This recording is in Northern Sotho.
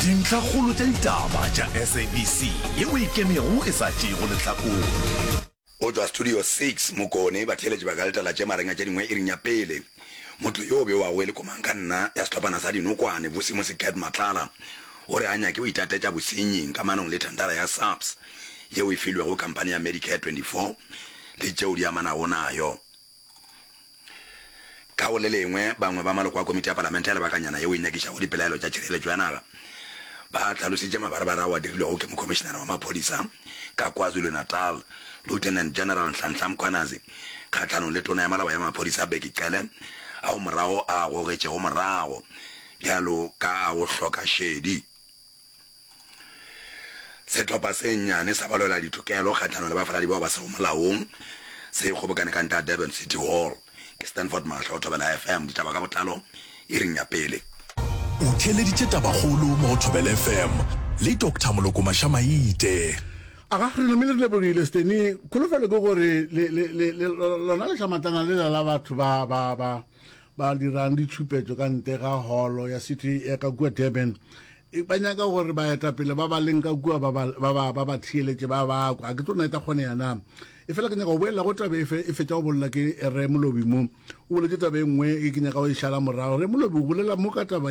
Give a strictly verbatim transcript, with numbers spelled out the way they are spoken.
Dintlhakgolo tša ditaba tša S A B C yeo e ikemego e sa tšeego lehlakore. O tšwa Studio six, Mokone, batheeletši ba ka letela tše marenga tše dingwe iring ya pele. Motho yo o bewago e le komangkanna ya sehlophana sa dinokwane, Vusi Musi Cat Matlala, o re a nyake go itatetša bosenying kamanong le thendara ya S A P S yeo e filwego khamphani ya Medicare twenty-four le tšeo di amanago nayo. Ka go le lengwe, bangwe ba maloko a komiti ya palamente ya lebakanyana yeo e nyakišago dipelaelo tša tšhireletšo ya naga ba hlalositše mabarebare ao a dirilwego ke Mokhomišenare wa Maphodisa ka KwaZulu-Natal, Lieutenant General Nhlanhla Mkhwanazi, kgahlanong le Tona ya Malaba ya Maphodisa Bheki Cele, ao morago a a gogetšego morago bjalo ka a go hloka šedi. Sehlopha se nnyane sa balwela ditokelo kgahlanong le bafaladi bao ba sego molaong se kgobokane ka ntle ga Durban City Hall. Ke Stanford Mahlo, Thobela F M, ditaba ka botlalo iring ya pele. O theeleditše Tabakgolo mo go Thobela F M le Doctor Moloko Mašamaite. Aga, re namile re lebogile Steny. Kholofelo ke gore le le le le lona lehlamatlana lela la batho ba ba ba ba dirang ditšhupetšo ka ntle ga holo ya city ya ka kua Durban, e ba nyaka gore baetapele ba ba leng ka kua ba ba ba ba ba theeletše, ba ba kwa. Ga ke tlo na e tla kgonega na, e fela ke nyaka go boelela go taba e fe e fetša go bolela ke Re Molobi mo. O boletse taba e nngwe e ke nyaka go e šala morago. Re Molobi o bolela mo ka taba